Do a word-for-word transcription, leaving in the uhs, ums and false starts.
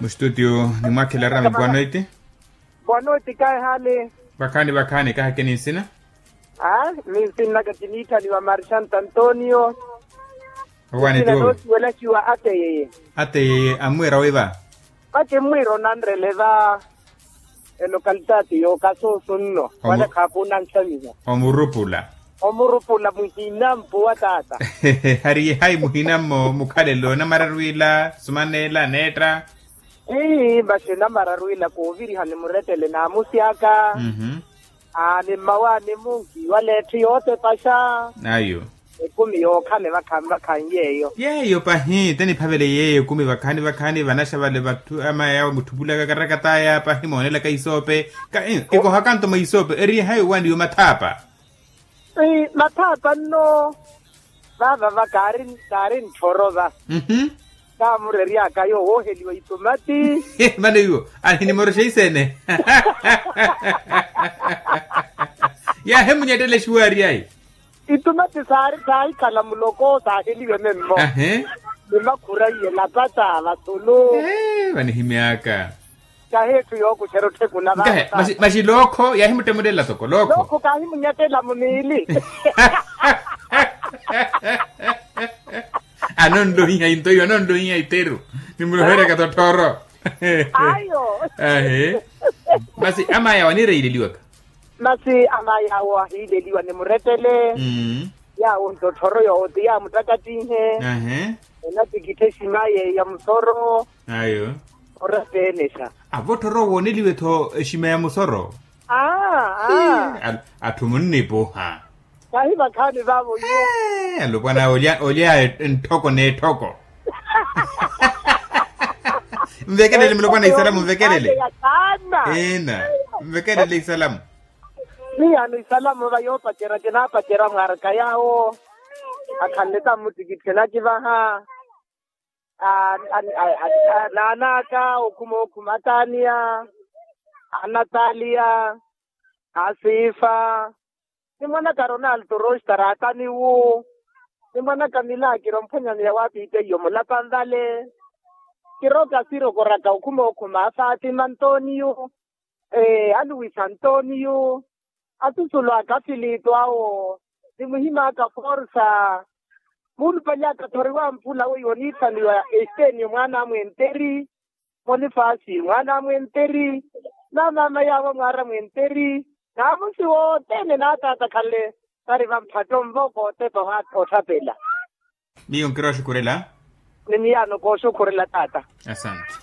Mustutio nimwakhela rami bwanoiti. Bwanoiti kaehali. Vakhaani vakhaani kahake ninsina. A, ninsinnaka kiniithaniwa marchanto antonio. Owaani tiwo. Noosiwelaxiwa ateyeye. Ateyeye ammwiira wiva. Ati mmwiira onanrele va. Elokalitati yookasuusunno wala khaakuuna nxamiha. Omurupula. Omurupula muhina mpuwa taata. Hariye hayi muhina mmo mukhalelo namararwiila sumaneela neetta. Ii masi namararwiila kooviriha ni murettele naamusi aka. Aani mmawaani munki wala etthu yootepaxa. Ayo. Ekumi yookhala evakhaani vakhaani yeeyo. Yeeyo pahi teniphavele yeeyo ekumi vakhaani vakhaani vanaxa vale vatthu ama yawo mutthupulaka karakataya pahi moonelaka isoope. Kikohakanto mwa isoope eriye hayi owaani yo mathaapa. Mathaapa nno. Vavava kaari ntthoro va. Kaamureryaka yoowo wooheliwa itumati. Mano iwo ahinimoroxa iseene. Yaahimunyettela exiwaaryayi. Itumati saari saahikhala muloko saaheliwe memmo. Ni makhura iye lapata vasulu. Vanihimyaka. Kahi etthu yookuxera otthekula vava. Maxi lookho yaahimuttemulela toko lookho. Lookho kaahimunyettela muniili. Anonlohiha into iyo anonlohiha iteru. Nimuloherya katotthoro. Ayo. Ahi. Masi ama yawo aniireileliwaka. Masi ama yawo ahiileliwa ni murettele. Yawo ntotthoro yoote yaamuttakattinhe. Ahi. Enatikitthe exima yeeyo ya musoro. Ayo. Orapeenexa. Avo otthoro wooneliwe-tho exima ya musoro. Aa. Atthu munnipuha. Kahi vakhaani vaavo iwo. Alopwana olya olya etthoko n'etthoko. Nvekelele mulopwana isalamu nvekelele. Ina. Nvekelele isalamu. Miyaano isalamu va yoopacerya kinaapacerya mwaaraka yaawo. Akhanle tammuttikitthe nakivaha. Naanaaka okhuma okhuma ataaniya, anataliya, asifa. Nimwanaka ronalto roxtara ataniwu. Nimwanaka milakiro mphwanyani ya wapiite iyo mulapanvale. Kiroka sirokoraka okhuma okhuma afatima antoniyo, aluwisa antoniyo, asusulu aka afilitu awo. Nimuhimaka forsa. Muulupalyaka thoriwa mphula weiwo oniithaniwa, estenio mwaana a mwenteri, monifasi mwaana a mwenteri, na maama yaawo mwaara mwenteri, naamusi wothene naataata khale. Vari vamphatto nvo kootepa otthaphela. Miyo nkirooxukhurela. Ni miyaano kooxukhurela taata. Asante.